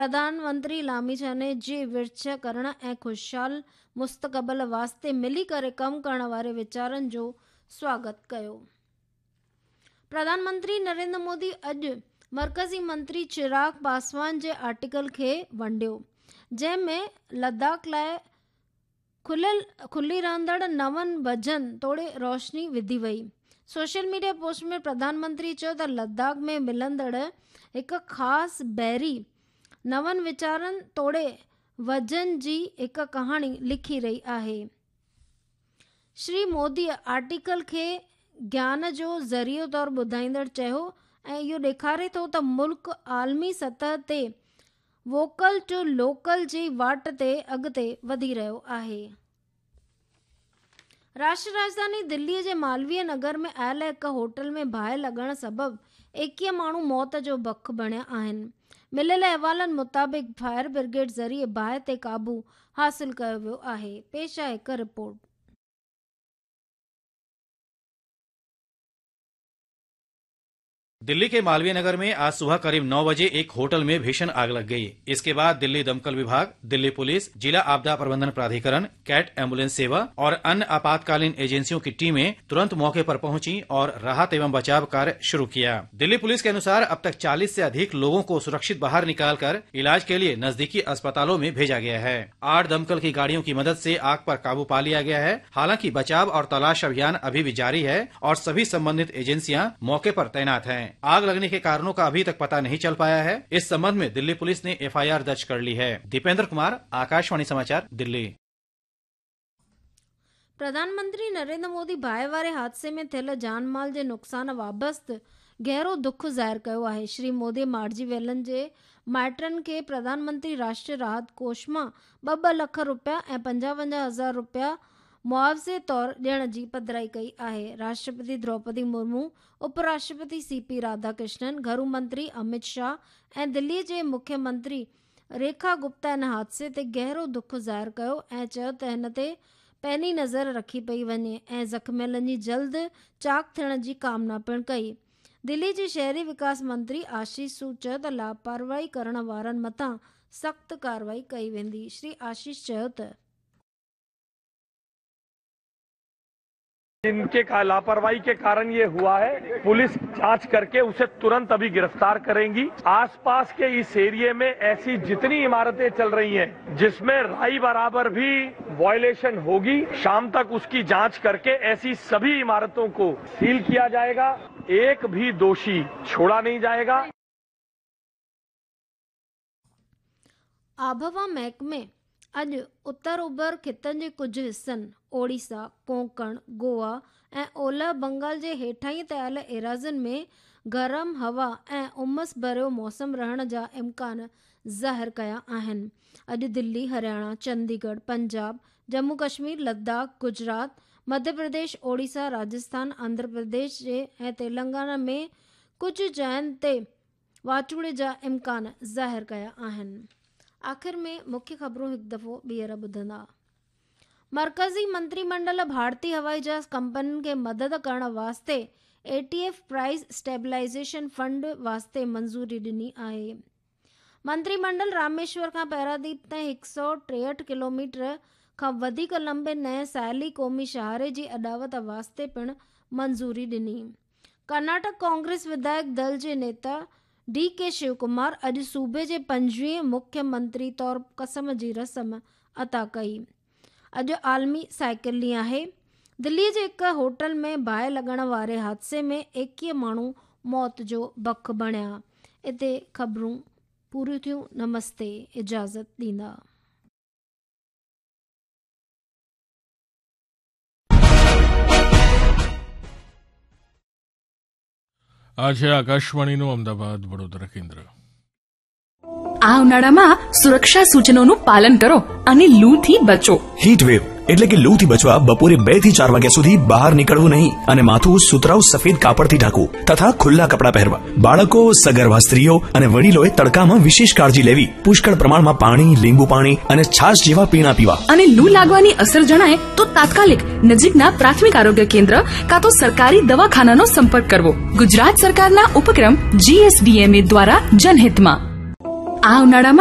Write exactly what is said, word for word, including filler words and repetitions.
प्रधानमंत्री लामिछाने जी विर्छ करण ऐं ख़ुशहाल मुस्तक़बिल वास्ते मिली करे कमु करण वारे वीचारनि जो स्वागत कयो। प्रधानमंत्री नरेंद्र मोदी अॼु मर्कज़ी मंत्री चिराग पासवान जे आर्टिकल खे वंडियो, जंहिं में लद्दाख लाइ खुलियल खुली रहंदड़ नवनि वजन तोड़े रोशनी विधी वई। सोशल मीडिया पोस्ट में प्रधानमंत्री चयो त लद्दाख में मिलंदड़ हिकु ख़ासि बहिरी नवनि वीचारनि तोड़े वजन जी हिकु कहाणी लिखी रही आहे। श्री मोदी आर्टिकल खे ज्ञान जो ज़रियो तौरु ॿुधाईंदड़ चयो ऐं इहो ॾेखारे थो त मुल्क आलमी सतह ते वोकल टू लोकल जी वाट ते अॻिते वधी रहियो आहे। राष्ट्रीय राजधानी दिल्लीअ जे मालवीय नगर में आयल हिकु होटल में बाहि लॻण सबबु एकवीह माण्हू मौत जो बख बणिया आहिनि। मिलियल अहवालनि मुताबिक़ फायर ब्रिगेड ज़रिए बाहि ते क़ाबू हासिल कयो वियो आहे। पेश आहे हिकु रिपोर्ट। दिल्ली के मालवीय नगर में आज सुबह करीब नौ बजे एक होटल में भीषण आग लग गई। इसके बाद दिल्ली दमकल विभाग, दिल्ली पुलिस, जिला आपदा प्रबंधन प्राधिकरण, कैट एम्बुलेंस सेवा और अन्य आपातकालीन एजेंसियों की टीमें तुरंत मौके पर पहुंची और राहत एवं बचाव कार्य शुरू किया। दिल्ली पुलिस के अनुसार अब तक चालीस से अधिक लोगों को सुरक्षित बाहर निकालकर इलाज के लिए नजदीकी अस्पतालों में भेजा गया है। आठ दमकल की गाड़ियों की मदद से आग पर काबू पा लिया गया है। हालांकि बचाव और तलाश अभियान अभी भी जारी है और सभी संबंधित एजेंसियां मौके पर तैनात हैं। आग लगने के कारणों का अभी तक पता नहीं चल पाया है। इस संबंध में दिल्ली पुलिस ने एफ I R दर्ज कर ली है। दीपेंद्र कुमार, आकाशवाणी समाचार, दिल्ली। प्रधानमंत्री नरेंद्र मोदी बाहि वारे हादसे में थियल जान माल जे नुक़सान बाबति गहरो दुख ज़ाहिर कयो आहे। श्री मोदी मारिजी वियलनि जे माइटनि खे प्रधानमंत्री राष्ट्रीय राहत कोष मां ॿ ॿ लख रुपया ऐं पंजावंजाह हज़ार रुपया मुआवज़े तौर ॾियण जी पधराई कई आहे। राष्ट्रपति द्रौपदी मुर्मू, उपराष्ट्रपति सी पी राधाकृष्णन, घरू मंत्री अमित शाह ऐं दिल्लीअ जे मुख्यमंत्री रेखा गुप्ता इन हादसे ते गहरो दुख ज़ाहिर कयो ऐं चयो त हिन ते पैनी नज़र रखी पई वञे ऐं ज़ख़्मियलनि जी जल्द चाक थियण जी कामना पिणु कई। दिल्ली जे शहरी विकास मंत्री आशीष सूद चयो त लापरवाही करण वारनि मथां सख़्तु कार्रवाई कई वेंदी। श्री आशीष चयो त जिनके का लापरवाही के कारण ये हुआ है, पुलिस जांच करके उसे तुरंत अभी गिरफ्तार करेंगी। आसपास के इस एरिया में ऐसी जितनी इमारतें चल रही हैं जिसमें राई बराबर भी वायलेशन होगी, शाम तक उसकी जांच करके ऐसी सभी इमारतों को सील किया जाएगा। एक भी दोषी छोड़ा नहीं जाएगा। आबहवा महकमे अॼु उत्तर उभर ख़ितनि जे कुझु हिसनि, ओडिशा, कोंकण, गोवा ऐं ओलह बंगाल जे हेठां ते आयल एराज़ियुनि में गरम हवा ऐं उमस भरियो मौसम रहण जा इम्कान ज़ाहिर कया आहिनि। अॼु दिल्ली, हरियाणा, चंडीगढ़, पंजाब, जम्मू कश्मीर, लद्दाख, गुजरात, मध्य प्रदेश, ओडिशा, राजस्थान, आंध्र प्रदेश जे ऐं तेलंगाना में कुझु जायुनि ते वाचूड़े जा इम्कान ज़ाहिर कया आहिनि। आख़िर में मुख्य ख़बरूं हिकु दफ़ो ॿीहर ॿुधंदा। मर्कज़ी मंत्रीमंडल भारतीय हवाई जहाज़ कंपनियुनि खे मदद करण वास्ते A T F price stabilisation fund वास्ते मंज़ूरी ॾिनी आहे। मंत्रीमंडल रामेश्वर खां पैरादीप ताईं हिकु सौ टेहठि किलोमीटर खां वधीक लंबे नए साहिली क़ौमी शाहरे जी अॾावत वास्ते पिणु मंज़ूरी ॾिनी। कर्नाटक कांग्रेस विधायक दल जे नेता डी के शिवकुमार अॼु सूबे जे पंजवीह मुख्यमंत्री तौर क़सम जी रस्म अता कई। अॼु आलमी साइकिल ॾींहुं आहे। दिल्लीअ जे हिकु होटल में बाहि लॻण वारे हादसे में एकवीह माण्हू मौत जो बख बणिया। हिते ख़बरूं पूरियूं थियूं। नमस्ते, इजाज़त ॾींदा। આ છે આકાશવાણીનું અમદાવાદ વડોદરા કેન્દ્ર. આ ઉનાળામાં સુરક્ષા સૂચનોનું પાલન કરો અને લૂથી બચો. હીટ વેવ એટલે કે લૂથી બચવા બપોરે બે થી ચાર વાગ્યા સુધી બહાર નીકળવું નહીં અને માથું સુતરાઉ સફેદ કાપડથી ઢાંકવું તથા ખુલ્લા કપડાં પહેરવા. બાળકો, સગર્ભા સ્ત્રીઓ અને વડીલોએ તડકામાં વિશેષ કાળજી લેવી. પુષ્કળ પ્રમાણમાં પાણી, લીંબુ પાણી અને છાશ જેવા પીણા પીવા. અને લૂ લાગવાની અસર જણાય તો તાત્કાલિક નજીકના પ્રાથમિક આરોગ્ય કેન્દ્ર કાં તો સરકારી દવાખાનાનો સંપર્ક કરવો. ગુજરાત સરકારના ઉપક્રમ જીએસડીએમએ દ્વારા જનહિતમાં. આ ઉનાળામાં